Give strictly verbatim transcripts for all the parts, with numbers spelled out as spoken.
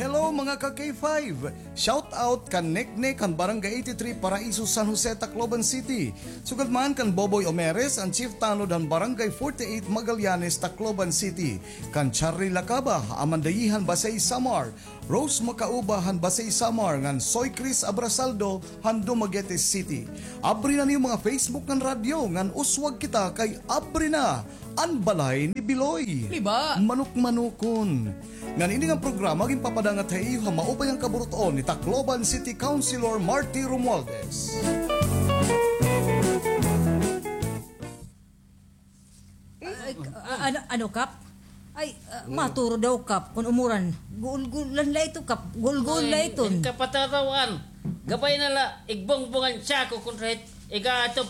Hello, mga ka K five! Shout out kan Neknek han Barangay eighty-three Paraiso, San Jose, Tacloban City. Sugad man kan Boboy Omeres, an Chief Tanod han Barangay forty-eight Magallanes, Tacloban City. Kan Charlie Lacaba, Amandayi han Basey, Samar. Rose Macauba han Basey, Samar, ngan Soy Chris Abrasaldo han Dumaguete City. Abri na niyo mga Facebook ngan radyo, ngan uswag kita kay abri na an balay ni Biloy. Di ba? Manok-manokon. Ngan ini nga programa ginpapadangat ha iyo ha maupay nga kaburut-on ni Tacloban City Councilor Marty Romualdez. Ay, a-, ano, ano, Kap? Ay, ah, maturo daw, Kap, kun umuran. Gulgulan la ito, Kap. Gulgul la ito. Ay, kapatarawan. Gabay na la, igbungbungan siya ko kun rahit igatop.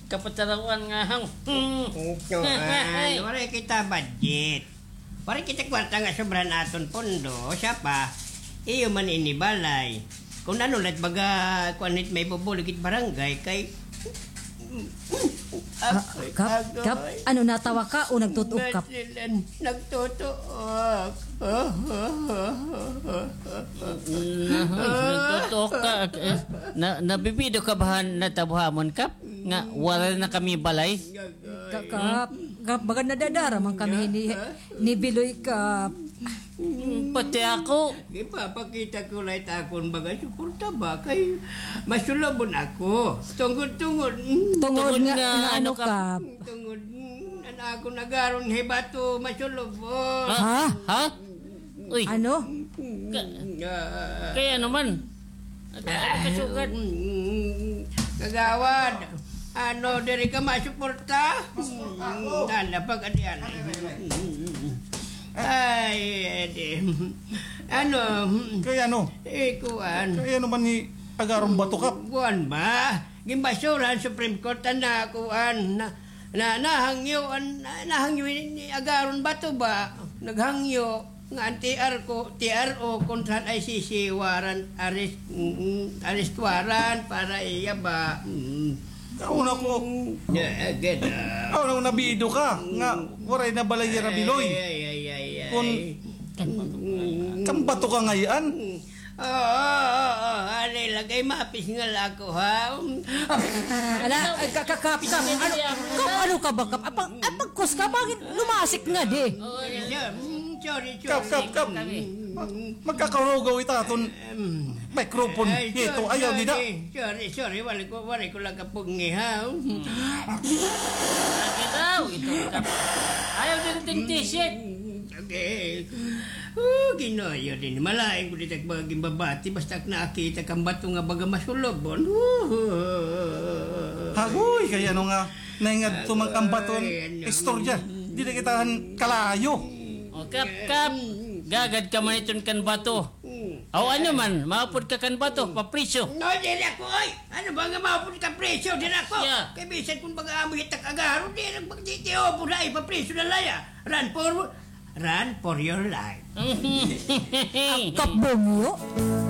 Kapatarawan nga hang. Ito, ah, waray kita budget. Waray kita kwarta nga sobra han aton pondo, siya pa. Iyo man ini balay. Kun ano la it baga, kuan, it maibubulig it barangay kay, ah, Kap, Kap, ano, natawa ka o nagtutuok, Kap? Nagtutuok. Nagtutuok ka. Eh, na, nabibido ka ba han natabo ha amon, Kap? Nga, wala na kami balay? Ka-, Kap, Kap, baga nadadara man kami ni, ni Biloy, Kap. Pati ako. Ipapakita ko la it akon baga suporta ba kay masulubon ako. Tungod, tungod. Tungod nga, nga ano, Kap? Tungod, an akon agaron hi Bato masulubon. Ha? Ha? Uy. Ano? Ka-, kay ano man? Ano kasugad? Kagawad, ano, diri ka masuporta? Tanda, pag-adian. Ay, edi. Ano? Kay ano? Eh, kuan. Kay ano man ni Agaron Bato, Kap? Kuan ba? Ginbasura an Supreme Court, an na, kuan, na, na, nahangyo, an, na, nahangyo ni, ni Agaron Bato ba? Naghangyo nga an T R ko, T R O kontra an I C C warrant, arrest, mm, arrest warrant para iya ba? Mm. Kauna ko. Yeah, good, ah. Kauna ko nabido ka nga waray na balay yana Biloy. Ay, ay, ay, ay, ay. Kun kan Bato ka ngay-an. Oo, oo, oo, anay la kay mapisngal ako, ha? Ala, ay, ka-, ka-, kap-, kap-, ano, kap-, ano ka ba, kap-, apag-, apagkos ka, bakit lumasik nga, di? Oo, yeah. Mm, sorry, sorry. Kap, kap, kap. Mag-, magkakahugaw ita aton microphone. Ay, hito, sorry, ayaw, dida. Sorry, sorry, sorry, wala ko, wala ko lang kapugngi, ha? Lagi daw, ito, kap-, ayaw din ting t-shirt. Okay. Oh, Ginoo, yun din. Malain ko dito ak baga ginbabati, basta ak nakita kan Bato nga baga masulubon. Hagoy, kay ano nga, naingadto man kan Bato an istorya. Di na kita han kalayo. O, kap, kap. Gagad ka man iton kan Bato. Aw, ano man, maupod ka kan Bato, papriso. No, diri ako, oy. Ano ba nga maupod ka priso? Diri ako. Kay bisan kun baga amo hitak agaro, di na magtitiyo po na ipapriso na laya. Run for, run for your life. Ang kabungyo.